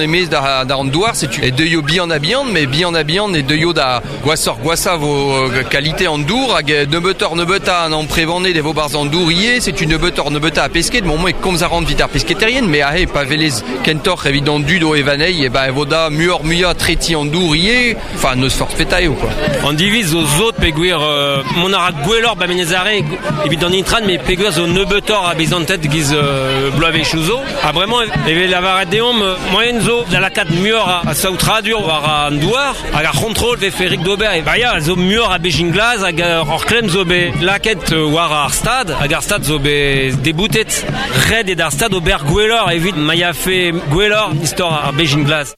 E-maez da, da an douar, setu e deuio bihan-ha-bihan, met bihan-ha-bihan e deuio da gwashoc'h-gwashañ vo kalite an dour hag nebeutoc'h-nebeutañ an amprevaned e vo 'barzh an dour ivez, setu nebeutoc'h-nebeutañ a pesked. Bon, moi e komz a ran evit ar pesketaerien, met aze pa welez kentoc'h evit an dud o evañ anezhi, e ben e vo da muioc'h-muiañ tretiñ an dour ivez, enfin n'eus forzh petra eo quoi. An diviz zo sot peogwir mont a ra gwelloc'h 'ba Menez Are evit an intran, met peogwir zo nebeutoc'h a bezanted 'giz bloavezhioù zo. Ha bremañ e vez lavaret deomp moaien zo da lakaat muioc'h a saotradur war an douar hag ar c'hontrol vefe rik d'ober. Ba ya, zo muioc'h a bezhin glas hag ur klemm zo bet lakaet war ar stad hag ar stad zo bet deboutet. Ret eo d'ar stad ober gwelloc'h evit ma yafe gwelloc'h istor ar bezhin glas.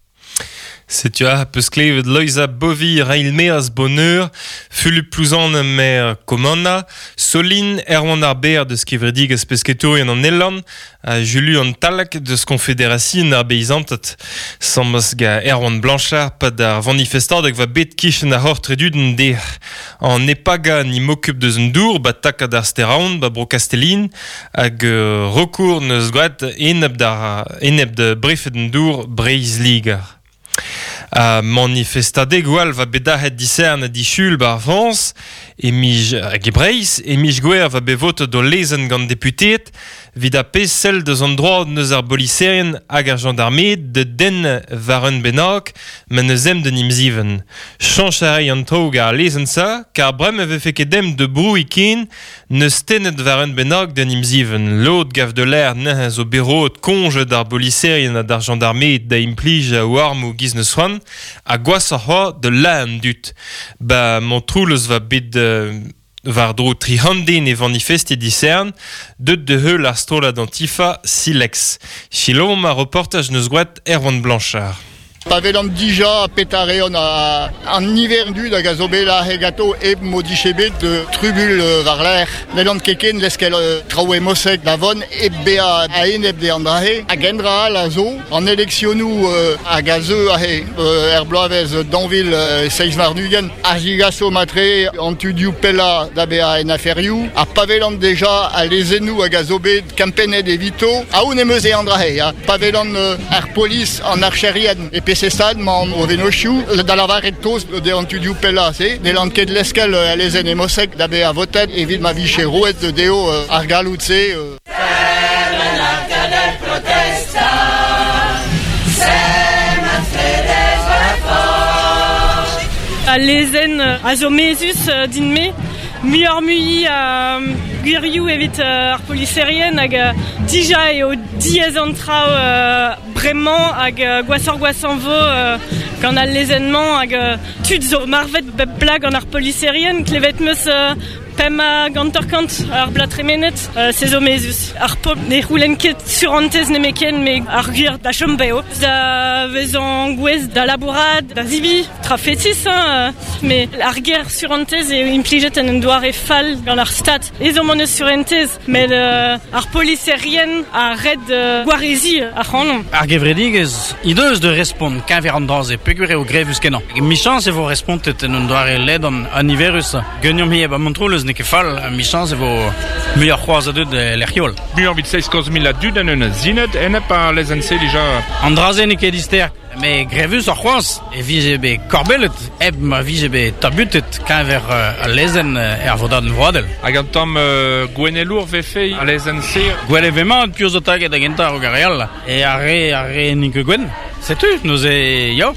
Setu aze 'peus klevet Loeiza Bovy Reilmeaz Boneur, Fulup Plouzane maer Kommanna, Soline Erwan ar Berr deus kevredigezh pesketourien an Elorn ha Juluan Tallag deus Konfederasion ar Beizanted. Samas ga Erwan Blanchard 'pad ar vanifestadeg 'va bet kichen ar c'hortredudenn dec'h. An Epaga ni m'okup deus an dour 'ba takad ar Steraon 'ba bro Kastellin Hag recours 'neus graet enep d'ar enep da brefed an dour Breizh-Liger. Ha manifestadegoù all va bet dac'het disern ha disul 'ba ar Frañs e miz hag e Breizh e miz Gouere va bet votet o lezenn gant deputeed 'vit ar pezh sell deus an droad 'neus ar boliserien hag ar jañdarmed da denn war un bennak ma n'eus ezhomm d'un emzivenn. Chañch a ray an traoù gant ar lezenn-se kar bremañ e vefe ket ezhomm da brouiñ ken N'eus tennet war un bennak d'un emzivenn. Lod gav da lâr neuze zo bet roet koñje d'ar boliserien ha d'ar jañdarmed da implij o armoù 'giz n'eus c'hoant, ha gwashoc'h c'hoazh da lazhañ an dud. Ba Montroulez 'va bet war-dro 300 den é vanifestiñ disern, deut da heul ar strollad Antifa Silex. Selaomp ar reportaj 'neus gwraet Erwan Blanchard. Pa welan dija petra reont an niver dud hag a zo bet aze ganto hep m'o dije bet trubuilh war-lerc'h. N'hellan ket ken leskel traoù emosek da vont hep bezañ a-enep dezhañ an dra-se. Hag un dra all a zo, an eleksionoù hag a zeu aze er bloavezh 2027 a zigaso matre an tudioù pellañ da bezañ en aferioù. Ha pa welan deja al lezennoù hag a zo bet kempennet evito, aon em eus eo an dra-se. Pa welan ar polis, an archerien e peseurt stad 'mañ o vennozhioù da lavaret kaoz dezhañ tudioù pellañ-se, n'hellan ket leskel al lezenn emosek da vezañ votet evit ma vije roet dezho ar galloud-se. Al lezenn a zo mezhus din-me. Muioc'h-mui a gwirioù evit ar poliserien hag dija eo diaes an traoù bremañ hag gwashoc'h-gwashañ 'vo gant al lezenn-mañ hag tud zo marvet bep bloaz gant ar poliserien. Klevet 'm eus pemp hanter-kant ar bloaz tremenet, se zo mezhus. Ar pobl ne c'houlenn ket surentez nemetken met ar gwir da chom bev, da vezañ gouest da labourat, da zebriñ. Tra fetis, hein, met ar ger surentez eo implijet en un doare fall gant ar Stad. Ezhomm hon eus surentez, met ar poliserien a red gwareziñ ac'hanomp. Ar gevredigezh he deus da respont keñver an dra-se peogwir eo grevus-kenañ. Michañs e vo respontet en un doare ledan ha niverus. Ganeomp ivez ba Montroulez n'eo ket fall, michañs e vo muioc'h c'hoazh a dud e lec'hioù all. Muioc'h evit 700 000 a dud en un zined enep ar lezenn-se dija. An dra-se n'eo ket dister. Met grevusoc'h c'hoazh e vije bet korbellet hep ma vije bet tabutet keñver al lezenn er vodadenn vroadel. Hag un tamm gouennelour 'vefe al lezenn-se? Gwell e ve mat piv zo taget da gentañ a-raok ar re all. E ar re ar re n'int ket gwenn. Setu, neuze ya,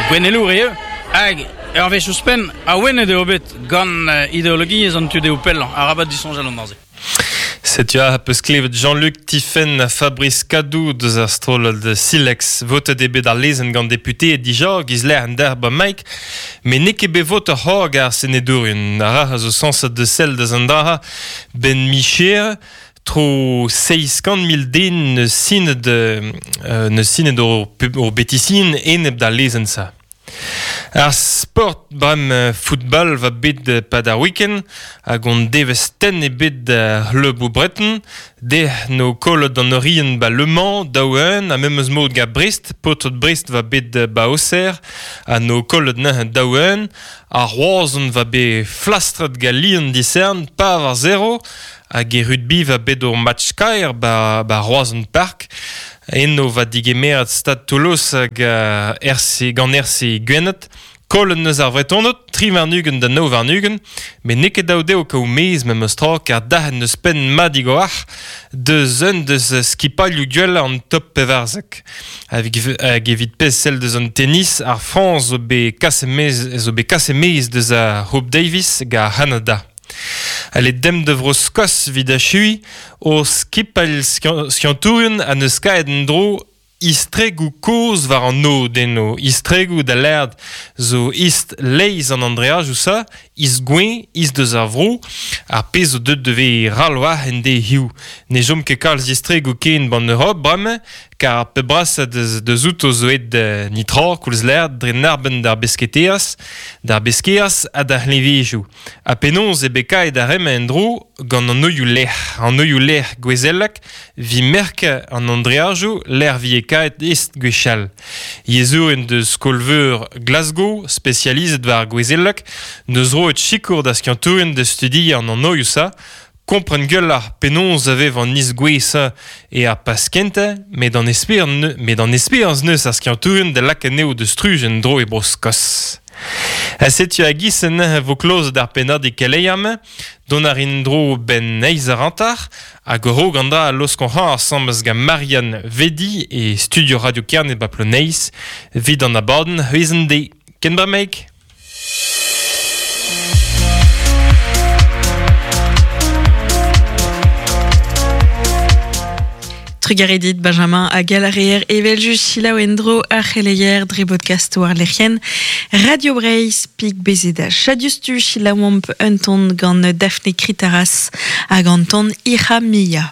gouennelour eo. Hag ur wech ouzhpenn, awenet eo bet gant ideologiezh an tu dehou pellañ. Arabat disoñjal an dra-se. Setu aze 'peus klevet Jean-Luc Tifenn ha Fabrice Kadou deus ar strollad Silex. Votet eo bet ar lezenn gant deputeed dija, giz lec'h an derc'h 'ba Mike, met n'eo ket bet votet c'hoazh gant ar senedourien. Ar rac'h a zo sañset da sell deus an dra 'benn micher. Tro 700 000 den 'neus sinet 'neus sinet o betisin enep d'al lezenn-se. Ar sport bremañ football 'va bet 'pad ar week-end hag hon devezh tenn ebet d'ar c'hleuboù breton. Dec'h 'no kollet an Orient 'ba Le Mans daou-un ha memes mod gant Brest. Paotred Brest 'va bet 'ba Auxerre ha 'no kollet neuze daou-un. Ar Roazhon 'va bet flastret gant Lyon disern par war zero hag e rugby 'va bet ur match kaer 'ba 'ba Roazhon Park. Eno va digemerat Stad Toulouse hag RC, gant RC Gwened. Kollen neus ar vretonot, tri warnugen da nao warnugen, met n'eo ket dav dezho kaout mez memes tra, kar dahen neus penn madig o arc'h deus un deus skipailhoù gwellañ an top pevarzek. Hag evit pezh sell deus an tennis, ar Frañs zo bet kaset mez, zo bet kaset mez deus ar Hope Davis hag ar C'hanada. Ale dem de vro Skos vid achui, o skipailh skiantourien a neus kaet en dro istregoù kozh war an nod eno. Istregoù da lerd zo ist leiz an Andreajoù sa, ist gwen, ist deus ar vro, ar pezh zo deut de ral war en de hiu. Ne jom ket kalz istregoù ken ban Europe bremañ, kar ar pep brasañ deus outo zo aet nitra koulz lerd dre narbenn d'ar besketeaz, d'ar beskeaz ha d'ar c'hleñvejoù. Ha penaos eo bet kaet ar remañ en-dro gant an oioù lec'h. An oioù lec'h gouezelek vi merk an Andreajoù lec'h vi e kaet est gwechall. Yezhourien deus skol-veur Glasgow, spesializet war gouezelek, neus roet sikour da skiantourien da studiañ an anoioù sa, kompren gwelloc'h penaos a vev an iz-gouez-se e ar pas kentañ, met an esper met an esperañs neus ar skiantourien da lakaat anezho da struj en-dro e Bro-Skos. Ha setu a-giz neuze vo klozet ar pennadig keleier-mañ, dont a rin dro benn eizh eur hanter, hag a-raok an dra a laoskont c'hoazh asambles gant Marianne Vedi e studio Radio Kerne ba Ploneiz, evit an abadenn c'hwezh-an-deiz. Ken bremaik! Trugarez dit Benjamin hag al reer evel-just selaou en-dro ar c'heleier dre bodkast war lec'hienn Radio Breizh pik bezet chadiustu selaouomp un ton gant Daphne Kritaras hag an ton Ira Mia.